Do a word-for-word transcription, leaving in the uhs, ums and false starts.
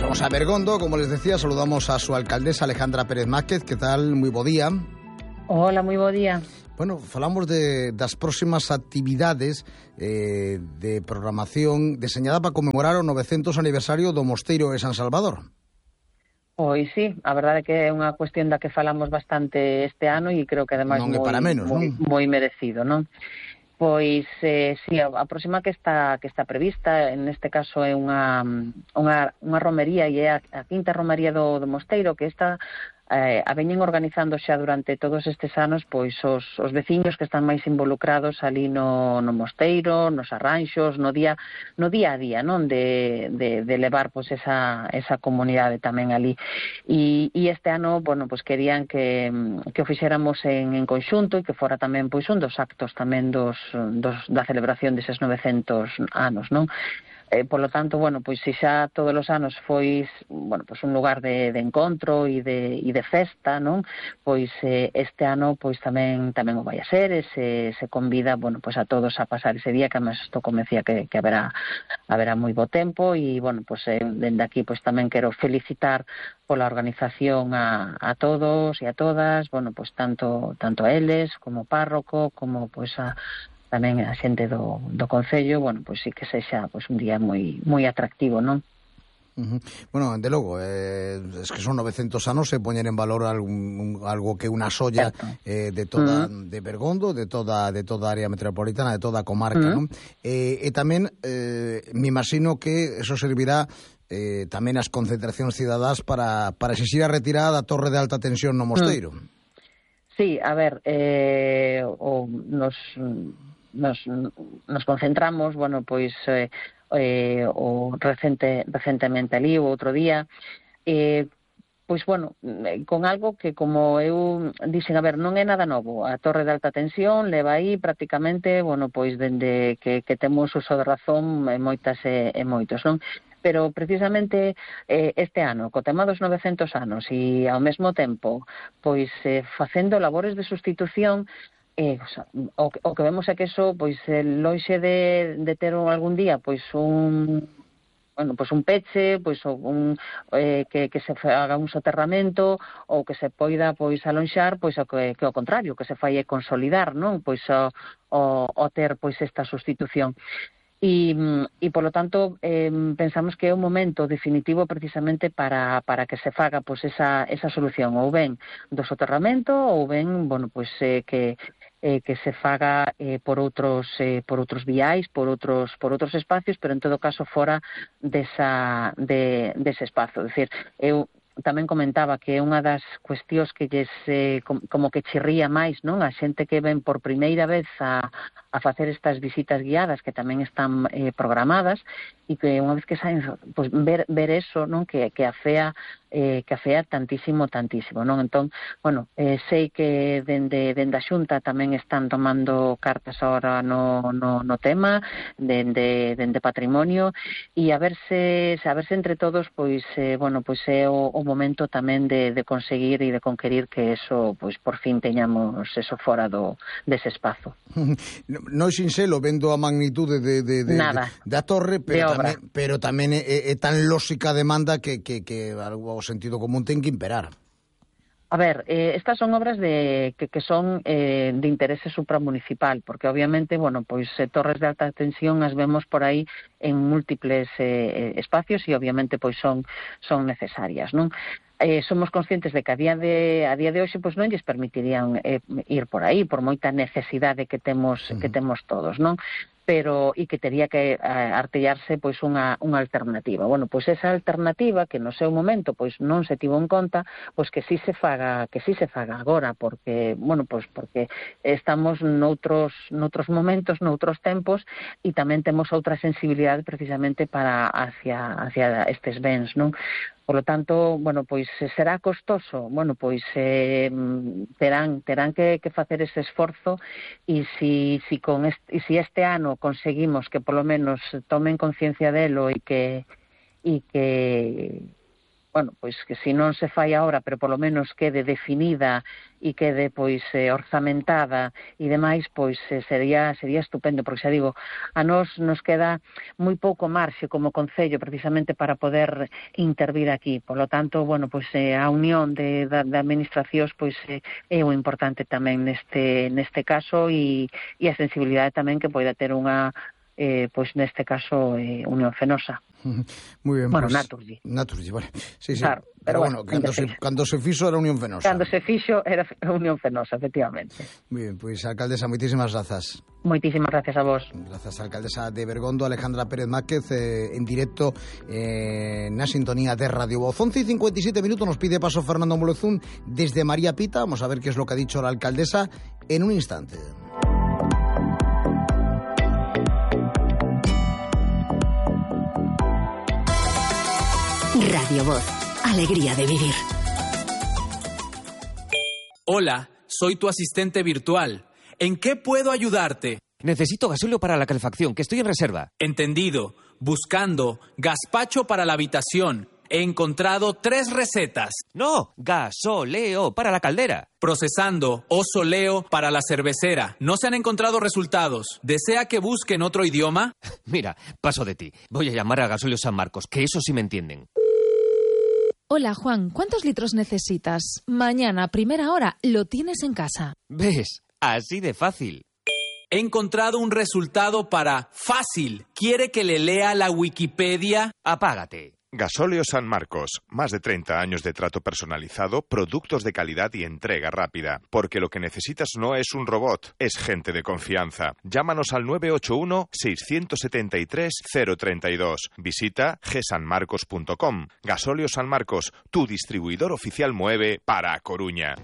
Vamos a Bergondo, como les decía, saludamos a su alcaldesa Alejandra Pérez Márquez. Que tal? Moi bo día. Hola, moi bo día. Bueno, falamos de, das próximas actividades eh, de programación deseñada para conmemorar o novecentos aniversario do Mosteiro de San Salvador. Pois sí, a verdade é que é unha cuestión da que falamos bastante este ano e creo que ademais non é moi, para menos, moi, non? moi merecido, non? Pois, eh, sí, a, a próxima que está que está prevista, en este caso é unha, unha, unha romería, e é a, a quinta romería do, do Mosteiro, que esta eh, a veñen organizando xa durante todos estes anos pois os, os veciños que están máis involucrados ali no, no Mosteiro, nos arranxos, no día no día a día, non? De, de, de levar pois esa, esa comunidade tamén ali. E, e este ano, bueno, pois querían que, que o fixéramos en, en conxunto e que fora tamén pois un dos actos tamén dos, dos da celebración deses novecentos anos, non? Eh, por lo tanto, bueno, pois se xa todos os anos foi, bueno, pois un lugar de, de encontro e de, e de festa, non? Pois eh, este ano pois tamén tamén o vai a ser, e se, se convida, bueno, pois a todos a pasar ese día, que además isto convencía que, que haberá haberá moi bo tempo, e bueno, pois eh, dende aquí pois tamén quero felicitar pola organización a, a todos e a todas, bueno, pois tanto tanto a eles como párroco, como pois a tamén a xente do, do Concello, bueno, pois sí que sexa pois un día moi moi atractivo, non? Uh-huh. Bueno, de logo, eh, es que son novecentos anos, se poñer en valor algún, algo que unha solla eh, de toda uh-huh. de Bergondo, de toda de toda a área metropolitana, de toda a comarca, uh-huh. non? Eh, e tamén eh, me imagino que eso servirá eh, tamén as concentracións cidadás para, para exixir a retirada da torre de alta tensión no Mosteiro. Uh-huh. Sí, a ver, eh, o nos Nos, nos concentramos, bueno, pois eh, eh, o recente, recentemente ali, o outro día, eh, pois, bueno, con algo que, como eu dixen, a ver, non é nada novo. A torre de alta tensión leva aí prácticamente, bueno, pois, dende que, que temos uso de razón e moitas e, e moitos, non? Pero precisamente eh, este ano, co tema dos novecentos anos e ao mesmo tempo, pois, eh, facendo labores de sustitución, Eh, o, sea, o, o que vemos é que eso, pois, eh, loixe de, de ter algún día, pois, un, bueno, pois un peche, pois, un, eh, que, que se haga un soterramento, ou que se poida, pois, alonxar, pois, o que, que o contrario, que se fai é consolidar, non? Pois, o, o, o ter, pois, esta sustitución. E, e polo tanto, eh, pensamos que é un momento definitivo precisamente para, para que se faga, pois, esa, esa solución, ou ben do soterramento, ou ben, bueno, pois, eh, que Eh, que se faga eh, por outros eh, por outros viais, por outros por outros espacios, pero en todo caso fora desa de dese espazo. É dicir, eu tamén comentaba que é unha das cuestións que lles eh, como que chirría máis, non? A xente que ven por primeira vez a, a facer estas visitas guiadas, que tamén están eh, programadas, e que unha vez que saen, pues, ver, ver eso, non? Que, que afea eh, que afea tantísimo, tantísimo, non? Entón, bueno, eh, sei que dende, dende a Xunta tamén están tomando cartas ahora no, no, no tema, dende, dende patrimonio, e a ver se, a ver se entre todos, pois, eh, bueno, pois é o, o momento tamén de, de conseguir e de conquerir que eso, pois, por fin teñamos eso fora do, dese espazo. Non sinxelo, vendo a magnitude de, de, de, de, da torre, pero tamén, pero tamén é, é tan lóxica demanda que, que, que algo o sentido común ten que imperar. A ver, eh, estas son obras de que, que son eh, de interese supramunicipal, porque obviamente, bueno, pois eh, torres de alta tensión as vemos por aí en múltiples eh, espacios e obviamente pois son son necesarias, non? Eh, somos conscientes de que a día de a día de hoxe pois non lles permitirían eh, ir por aí por moita necesidade que temos uh-huh. que temos todos, non? Pero e que tería que eh, artellarse pois unha unha alternativa. Bueno, pois esa alternativa que no seu momento pois non se tivo en conta, pois que si se faga, que si se faga agora, porque, bueno, pois porque estamos noutros noutros momentos, noutros tempos, e tamén temos outra sensibilidade precisamente para hacia hacia estes bens, non? Por lo tanto, bueno, pois será costoso, bueno, pois eh, terán terán que, que facer ese esforzo, e si si con este, e si este ano conseguimos que polo menos tomen conciencia delo e que e que bueno, pois que se non se fai agora, pero polo menos quede definida e quede pois eh, orzamentada e demais, pois eh, sería sería estupendo, porque xa digo, a nós nos queda moi pouco marxe como concello precisamente para poder intervir aquí. Por lo tanto, bueno, pois eh, a unión de, de, de administracións pois eh, é o importante tamén neste neste caso e, e a sensibilidade tamén que poida ter unha Eh, pois neste caso eh, Unión Fenosa. Muy bien, bueno, pues, Naturgy. Naturgy, vale. Sí, sí. Claro, pero, pero bueno, bueno, cando se, cando se fixo era Unión Fenosa. Cando se fixo era Unión Fenosa, efectivamente. Muy bien, pois, pues, alcaldesa, moitísimas grazas. Moitísimas gracias a vos. Grazas, alcaldesa de Bergondo, Alejandra Pérez Máquez, eh, en directo eh, na sintonía de Radio Voz. once y cincuenta y siete minutos nos pide paso Fernando Molezún desde María Pita. Vamos a ver qué es lo que ha dicho la alcaldesa en un instante. Radio Voz, alegría de vivir. Hola, soy tu asistente virtual. ¿En qué puedo ayudarte? Necesito gasóleo para la calefacción, que estoy en reserva. Entendido. Buscando gazpacho para la habitación. He encontrado tres recetas. No, gasóleo para la caldera. Procesando oso leo para la cervecera. No se han encontrado resultados. ¿Desea que busque en otro idioma? Mira, paso de ti. Voy a llamar a Gasóleo San Marcos, que eso sí me entienden. Hola, Juan, ¿cuántos litros necesitas? Mañana, primera hora, lo tienes en casa. ¿Ves? Así de fácil. He encontrado un resultado para fácil. ¿Quiere que le lea la Wikipedia? Apágate. Gasóleo San Marcos, más de treinta años de trato personalizado, productos de calidad y entrega rápida. Porque lo que necesitas no es un robot, es gente de confianza. Llámanos al nueve ocho uno, seis siete tres, cero tres dos. Visita ge san marcos punto com. Gasóleo San Marcos, tu distribuidor oficial Moeve para A Coruña.